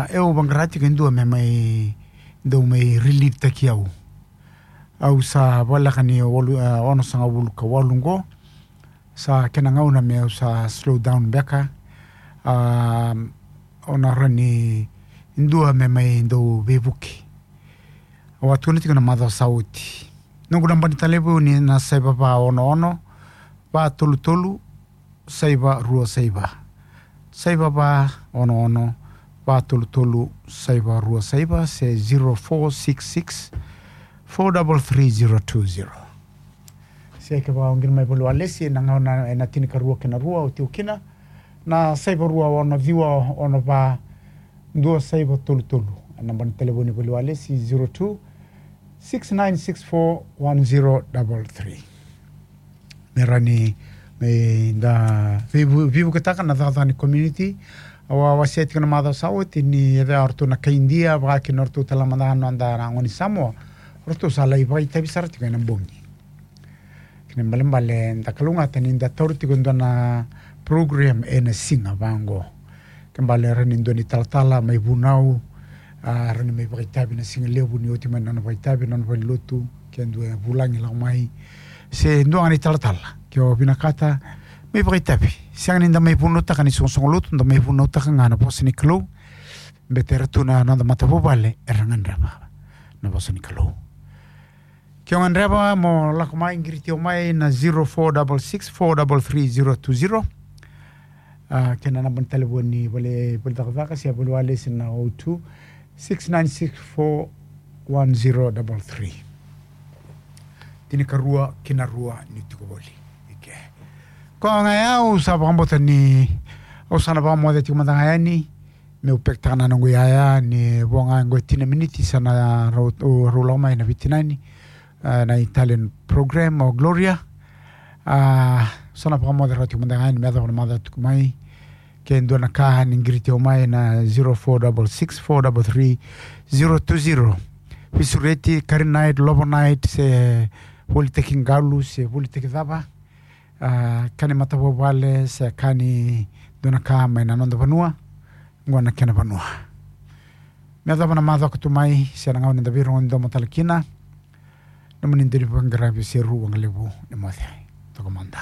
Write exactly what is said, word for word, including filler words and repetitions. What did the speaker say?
E, au vaqara tiko e dua me mai, dau mai relieve taki au. Au sa voleka ni walu, e, onosagavulu ka walu qo. Sa kena gauna me au sa slow down beka. A, au na rawa ni dua me mai dau veivuke. Au a tukuna tiko na macawa sa oti. Noqu naba ni talevoni na saiva va ono ono, va tolu tolu, saiva rua saiva. Saiva va ono ono, va tolu tolu, saiva rua saiva, se zero four six six, four double three zero two zero. Se kevaka o qai mai valeniwalesi ena gauna ena tinikarua kei na rua o tiko kina, na saiva rua ono ciwa ono va dua saiva tolu tolu. Naba ni talevoni valeniwalesi zero two six nine six four one zero double three. Me rawa ni, me da veivu-, veivuketaka na cakacaka ni community. Au a wasea tiko na macawa sa oti ni e vei iratou na kai Idia, vaka kina o ratou tale mada na noda na gone Samoa, o ratou sa lai vakaitavi sara tiko ena bogi. Kena ibalebale da kalougata ni da taura tiko e dua na program ena siga vaqo. Ke bale rawa ni dua na italatala mai vunau, a, rawa ni mai vakaitavi na siga levu ni oti mai na nona vakaitavi na nona valenilotu, ke dua e vulagi lako mai, se dua ga na italatala ke o vinakata, mai vakaitavi. Sega ni da mai vunautaka na isoqosoqo lotu, da mai vunautaka ga na vosa ni Kalou. Baleta era tu na noda matavuvale era gadreva na vosa ni Kalou. Ke o gadreva mo lako mai, qiriti au mai na zero four double six, four double three, zero two zero. A, kei na naba ni talevoni vale, vale cakacaka se valeniwalesi na o two six nine six four one zero double three. Tinikarua kei na rua ni tiko voli. Ike. Koya ga ya au sa vakabauta ni au sa na vakamoce tiko mada ga yani. Meu pekitaka na noqu iyaya ni vo ga qo e tini na miniti sa na rau, rau lako mai na veitinani, a, na Italian program o Gloria. A, sa na vakamoce rawa tiko mada ga yani me yacova na macawa tiko mai. Ke dua na ka ni qiriti au mai na zero four double six, four double three, zero two zero. Veisureti, kari night, lovo night, se volitaki qalu, se volitaki cava. A, ka ni matavuvale, se ka ni dua na ka mai na noda vanua, qo na kena vanua. Me yacova na macawa ka tu mai, se na gauna eda veirogo ni domo tale kina. Nomuni dau ni vaqaravi se ru vaqalevu ni moce. Toka mada.